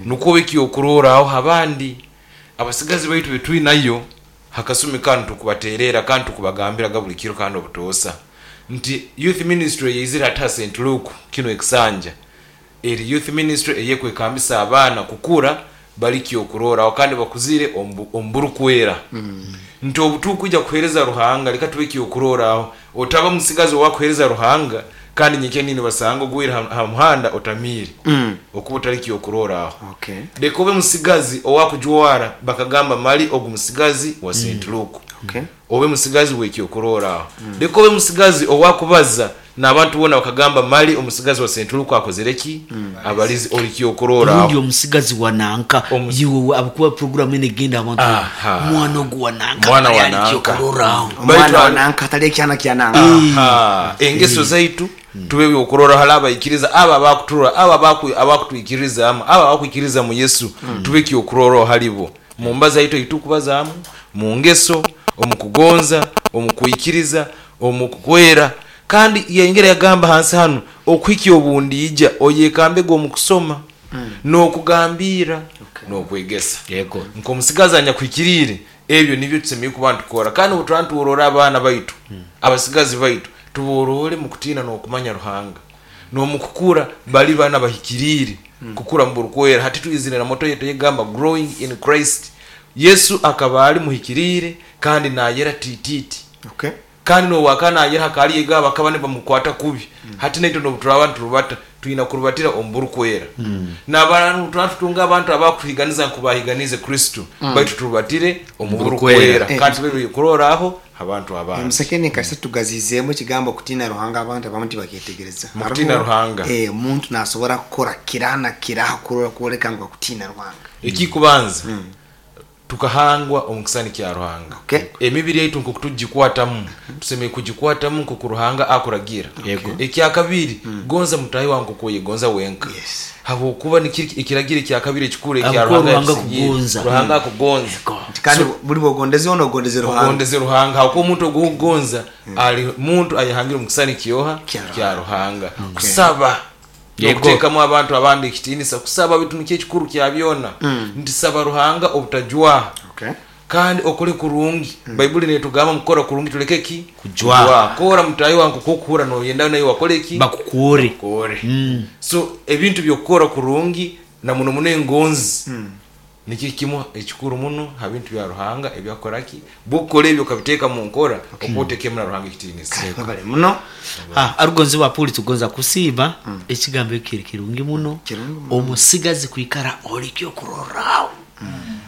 Nukwo obe ekyokurorraho abandi abasigazi baitu betwinayo hakasumi kanu. Tukubatererra kandi tukubagambiraga buli kiro kandi obutoosa nti youth ministry eyaizire hati ha St. Luke kinu ekisanja eri youth ministry eyekwekambisa abaana kukura bali kyokurorraho kandi bakuzire omu burukwera, nti obu tukwija kuheereza Ruhanga leka tube kyokurorraho. Otaba musigazi owakuheereza Ruhanga kandi nyenkya nibasanga ogwire ha muhanda otamiire, okuba otali kyokurorraho. Leka obe musigazi owakujwara bakagamba, "Mali ogu musigazi wa St. Luke." Obe musigazi w'ekyokurorraho. Leka obe musigazi owakubaza n'abantu boona bakagamba, "Mali omusigazi wa St. Luke akozere ki? Abalize." Oli kyokurorraho. Rundi omusigazi wa nanka, iwe abakuba puroguramu enu egenda abantu, mwana ogu wa nanka, mwana wa ali nanka. Kyokurorraho. Omwana wa nanka, atali ekyana kya nanka. Aha, engeso zaitu tube byokurorraho hali abaikiriza abo abakuturora, abo abakutwikirizaamu, abo abakwikiriza mu Yesu, tube kyokurorraho hali bo mu mbaza yaitu eitukubazaamu, mu ngeso, omu kugonza, omu kwikiriza, omu kukwera. Kandi yayongera yagamba hansi hanu, okuhikya obundiija oyekambege omu kusoma n'okugambirra n'okwegesa. Nk'omusigazi anyakuhikiriire, ebyo nibyo tusemeriire kuba nitukora. Kandi obu turaba nitworora abaana baitu, abasigazi baitu, tuborore mu kutiina n'okumanya Ruhanga n'omu kukura bali baana bahikiriire, kukura mu burukwera. Hati twizire na moto yaitu eyegamba "Growing in Christ". Yesu akaba ali muhikiriire kandi nayera tititi. Kandi n'obu akaba nayera hakaba haliyo ego abakaba nibamukwata kubi. Hati naitwe n'obu turaaba niturubata, twina kurubatira omu burukwera. N'abantu obu turaba tutunga abantu abakutuhiganiza nkoku bahiganiize Kristo, baitu turubatire omu burukwera kandi tube byokurorraho ha bantu abandi. Omusekeni kasita tugaziizeemu ekigambo kutiina Ruhanga, abantu abamu tibakyetegereza. Mu kutiina Ruhanga. Omuntu nasobora kukora kiraha na kiraha kurora kwoleka ngu akutiina Ruhanga. Ekikubanza, tukahangwa omu kisani kya Ruhanga. Emibiri yaitu nkoku tugikwatamu, tusemeriire kugikwatamu nkoku Ruhanga akuragira. Ekyakabiri, gonza mutaahi wawe nkoku oyegonza wenka. Habwokuba nikiri ekiragiro ekyakabiri ekikuru ekya Habwokuba Ruhanga Ruhanga yatusigiire. akugonza. Ruhanga akugonza. Nti kandi buli bwogondeze ono ogondeze Ruhanga. Ogondeze Ruhanga habwokuba omuntu ogu okugonza ali muntu ayehangire omu kisani kyoha? Kya Kya Ruhanga. Kusaba n'okuteekamu abantu abandi ekitiinisa. Kusaba baitu nikyo ekikuru kya byona. Nti saba Ruhanga obutajwaha. Kandi okole kurungi. Baibuli netugamba mu kukora kurungi tuleke ki? Kujwaha. Kora mutaahi wawe nkoku okuhurra noyenda naiwe akole ki? Bakukoore. Bakukoore. So ebintu by'okukora kurungi na muno muno engonzi nikyo kimu ekikuru muno ha bintu bya Ruhanga ebyakukora ki? Bw'okukora ebyo okabiteeka mu nkora, okuba otekeemu na Ruhanga ekitiinisa. Webale muno. Arugonzi wa Puli, tugonza kusiima ekigambo eki kiri kirungi muno. Kirungi muno. Omusigazi kwikara oli kyokurorraho.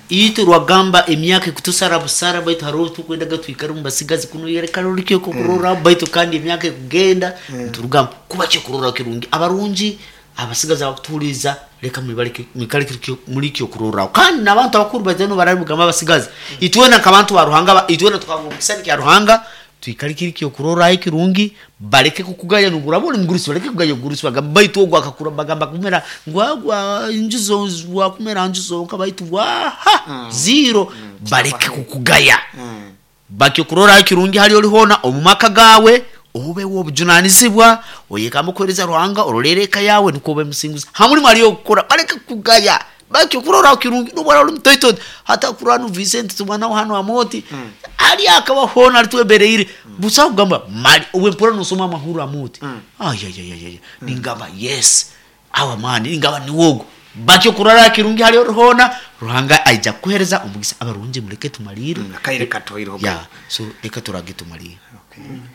Itwe rwagamba emyaka ekutusara busara, baitu haroho obu tukwendaga twikare omu basigazi kunu yekara oli kyokurorraho, baitu kandi emyaka ekugenda niturugamu kuba kyokurorraho kirungi. Abarungi abasigazi abakutuhuliiriza, leka mwibaleke mwikale muli kyokurorraho. Kandi n'abantu abakuru baija nibarabigamba abasigazi, itwena nk'abantu ba Ruhanga, itwena tukahangwa omu kisani kya Ruhanga, twikale kiri kyokurorraho ekirungi, baleke kukugaya n'obu oraaba oli mugurusi, baleke kugaya obugurusi bagambe baitu ogu akakura, bagamba kumera ngu agwa nju wakumera nju zonka baitu waha ziro, baleke kukugaya. Bakyokurorraho ekirungi hali oli hoona omu maka gaawe, obe w'obujunanizibwa, oyekambe kuheereza Ruhanga, orolerre eka yaawe nukwo obe musinguzi. Ha mulimo hali okukora, baleke kukugaya. Bakyokurorraho kirungi n'obu oraaba oli mutoito oti. Hati akurora nu Vincent tuba nawe hanu Amooti, ali akaba hoona ali twembereire, busaho kugamba mali obu mpurra nosoma amahurro Amooti, ayayayaya, ningamba yes, our man, ningamba niwe ogu. Bakyokurorraho kirungi hali ori hoona, Ruhanga aija kukuheereza omugisa. Abarungi muleke tumaliire. Akaire katuhaireho. Yeah, so leka turage tumaliire.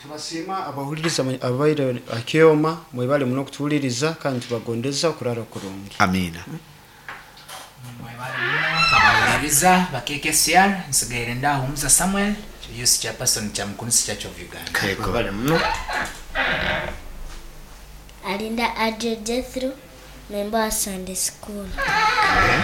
Tubasiima abahuliriza ababaire ha kyoma, mwebale muno kutuhuliriza kandi tubagondeza okurara kurungi. Amiina. Mwebale muno abahuliriza ba KKCR, nsigaire ndahumuza Samuel, Youth Chairperson Kyamukunisi Church of Uganda. Mwebale muno. Alinda Adrio Jethro, member wa Sunday School.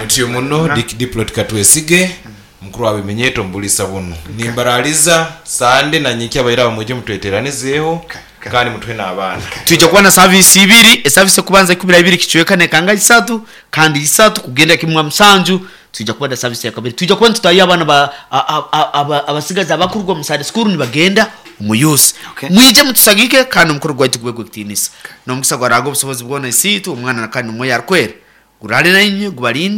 Mutyo muno Dick Diplot Katwesige, mukuru wa bimenyeto omu buliisa bunu. Nimbaraliza Sande na nyenkya abaire aba mwije mutweteranizeeho kandi mutuhe n'abaana. Twija kuba na saviisi ibiri, esaviisi ekubanza ikumi na ibiri kicweka nekanga isatu, kandi isatu kugenda kimu ha musanju twija kuba na saviisi yakabiri. Twija kuba nitutahya abaana ba abasigazi abakuruga omu Sunday school nibagenda omu youth. Mwije mutusagike kandi omukoro gwaitu gube gw'ekitiinisa. N'omugisa gwa Ruhanga obusobozi bwona Isiitwe, Omwana kandi n'Omwoyo Arukwera guraale nainywe gubalinde.